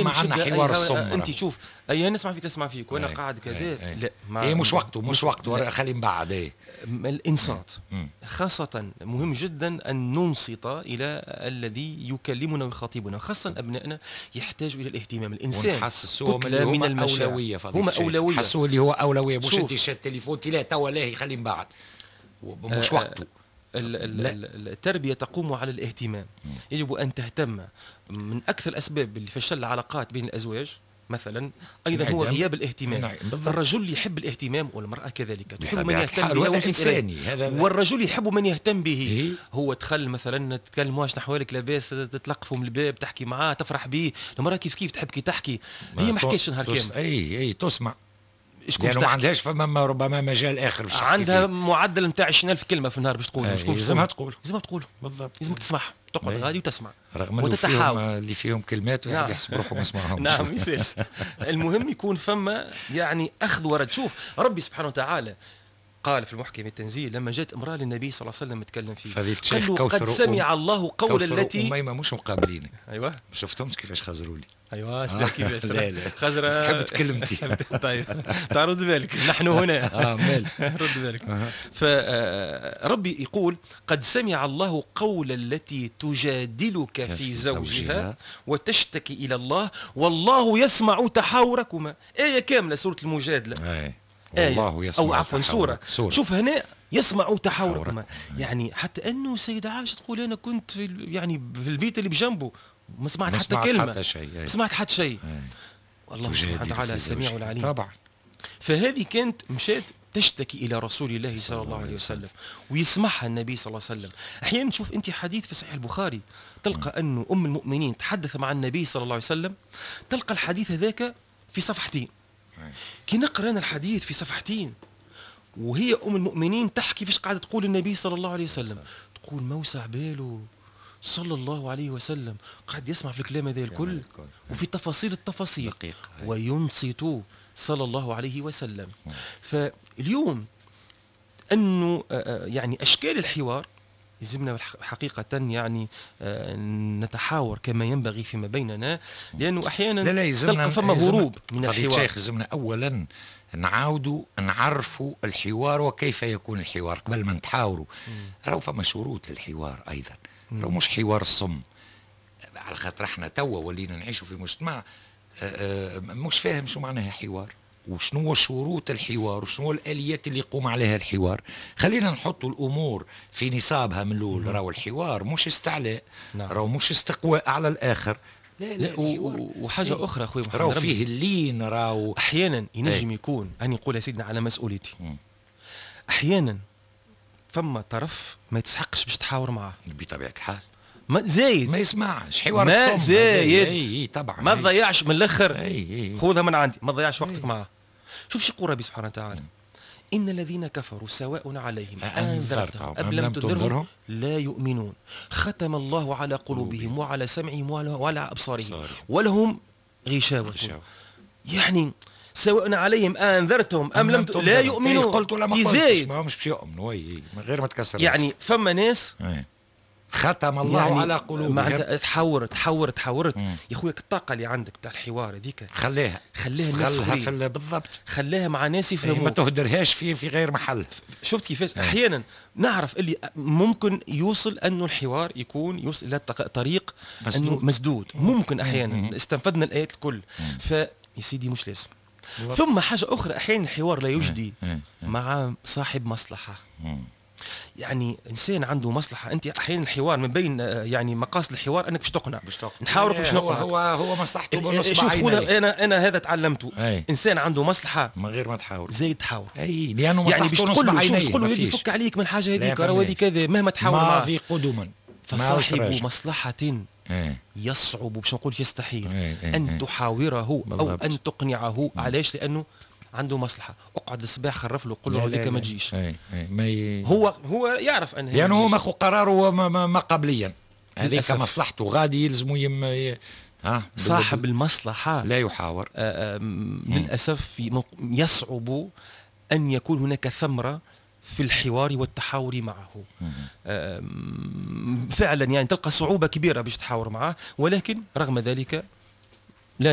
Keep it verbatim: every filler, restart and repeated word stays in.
ما عندنا حوار الصم. انت شوف، اي نسمع فيك نسمع فيك وانا قاعد كذا، لا ما إيه مش وقته، مش وقته، خلي من بعد. ايه الانصات خاصة مهم جدا ان ننصت الى الذي يكلمنا ويخاطبنا، خاصة ابنائنا يحتاجوا الى الاهتمام. الانسان كتلة من المشاعر، اولوية، هما اولوية، حسوا اللي هو اولوية، مش انت شاد التليفون لا توا لا خلي من بعد، مش وقته. التربية تقوم على الاهتمام، يجب أن تهتم. من أكثر الأسباب اللي فشل العلاقات بين الأزواج مثلا أيضا هو غياب الاهتمام. نعم. الرجل يحب الاهتمام والمرأة كذلك تحب من يهتم بها، والرجل يحب من يهتم به. إيه؟ هو دخل مثلا تتكلم واش نحوالك لاباس، تتلقفه من الباب، تحكي معاه، تفرح به. المرأة كيف كيف تحب كي تحكي، هي ما حكيش نهار كامل. اي اي تسمع، لأنه ما عندهاش فما ربما مجال اخر باش عندها معدل نتاع عشرين ألف كلمة في النهار باش تقول. لازمها تقول، لازمها تقول بالضبط، لازمك تسمعها، تقعد غادي وتسمع، رغم انه فيهم اللي فيهم كلمات واحد يحسب روحه ما سمعهمش. نعم يصير. المهم يكون فما يعني اخذ ورد. شوف ربي سبحانه وتعالى قال في المحكم التنزيل لما جاءت امرأة للنبي صلى الله عليه وسلم تكلم فيه، قال له قد سمع الله قول التي أميمة مش مقابلينك. ايوه ما شفتهمش كيفاش خزروا لي. ايوه آه. كيفاش؟ لا لا خزرة تحب تكلمتي. طيب تعال رد بالك، نحن هنا. اه مال رد بالك. آه. فربي يقول قد سمع الله قول التي تجادلك في زوجها وتشتكي الى الله والله يسمع تحاوركما. آية كاملة سورة المجادلة. آه. والله يسمع، أو عفوا سورة. سورة. شوف هنا يسمع تحاوركما، يعني حتى أنه السيدة عائشة تقول أنا كنت في يعني في البيت اللي بجنبه ما سمعت حتى سمعت كلمة، حتى شيء، ما سمعت حتى شيء. والله سبحانه وتعالى السميع العليم طبعا. فهذه كانت مشات تشتكي إلى رسول الله صلى الله عليه وسلم ويسمعها النبي صلى الله عليه وسلم. أحيانا تشوف أنت حديث في صحيح البخاري تلقى أنه أم المؤمنين تحدث مع النبي صلى الله عليه وسلم، تلقى الحديث هذاك في صفحتين. كي نقرا انا الحديث في صفحتين وهي ام المؤمنين تحكي فيش قاعدة تقول النبي صلى الله عليه وسلم، تقول ما وسع باله صلى الله عليه وسلم، قاعد يسمع في الكلام هذا الكل وفي تفاصيل التفاصيل وينصت صلى الله عليه وسلم. فاليوم انه يعني اشكال الحوار يلزمنا حقيقة يعني نتحاور كما ينبغي فيما بيننا، لأنه أحيانا لا لا تلقى فما هروب من الحوار. شيخ يلزمنا أولا نعاودوا نعرفوا الحوار وكيف يكون الحوار قبل ما نتحاوروا. راهو فما شروط للحوار أيضا، راهو مش حوار الصم، على خاطر احنا توا ولينا نعيشوا في مجتمع مش فاهم شو معناها حوار وشنو شروط الحوار وشنو الآليات اللي يقوم عليها الحوار. خلينا نحط الأمور في نصابها من الأول. راهو الحوار مش استعلاء، نعم. راهو مش استقواء على الآخر، لا لا, لا وحاجة إيه. أخرى أخوي محمد، راهو فيه اللين، راهو أحيانا ينجم ايه. يكون أنا نقول يا سيدنا على مسؤوليتي، م. أحيانا فما طرف ما يتسحقش باش تحاور معاه بطبيعة الحال، ما زايد ما يسمعش حوار ما الصم، زايد اي اي طبعا، ما تضيعش من الاخر، اي خذها من عندي، ما تضيعش وقتك معاه. شوف شو يقول ربي سبحانه وتعالى: إن الذين كفروا سواء عليهم أنذرتهم أم لم تنذرهم لا يؤمنون ختم الله على قلوبهم وعلى سمعهم وعلى أبصارهم ولهم غشاوة. يعني سواء عليهم أنذرتهم أم لم لا يؤمنون. قلت ولا ما قلتش ما همش باش يؤمنوا من غير ما تكسر. يعني فما ناس ختم الله يعني على قلوبهم. معناتها تحور تحور تحورت يا خويا، الطاقة اللي عندك بتاع الحوار هذيك خليها خليها الناس في بالضبط، خليها مع ناس يفهموا، ما تهدرهاش في في غير محل. شفت كيفاش احيانا نعرف اللي ممكن يوصل انه الحوار يكون يوصل الى طريق مسدود. انه مسدود ممكن احيانا مم. استنفذنا الايات الكل، فيا سيدي مش لازم. ثم حاجة اخرى، احيانا الحوار لا يجدي مم. مع صاحب مصلحة. مم. يعني انسان عنده مصلحة، انت احيانا الحوار من بين يعني مقاصد الحوار انك باش تقنع، باش تقنع نحاورك باش نقنع. هو هو مصلحته بنص. شوف خذها، انا انا هذا تعلمته. أي. انسان عنده مصلحة من غير ما تحاور زايد تحاور. اي لانه يعني باش تقول له شوف تقول له يفك عليك من حاجة هذيك راهو هذه كذا، مهما تحاول معاه ماضي قدما. فصاحب مصلحة يصعب باش نقول يستحيل ان تحاوره او ان تقنعه. علاش؟ لانه عنده مصلحة. اقعد الصباح خرف له قول له هذيك ما تجيش. اي اي ما ي... هو هو يعرف ان لانه هو ماخذ قراره ما, ما, ما قبليا، هذيك مصلحته غادي يلزمو يم... ها صاحب المصلحة لا يحاور. آآ آآ للاسف يصعب ان يكون هناك ثمره في الحوار والتحاور معه. فعلا يعني تلقى صعوبة كبيرة باش تحاور معه، ولكن رغم ذلك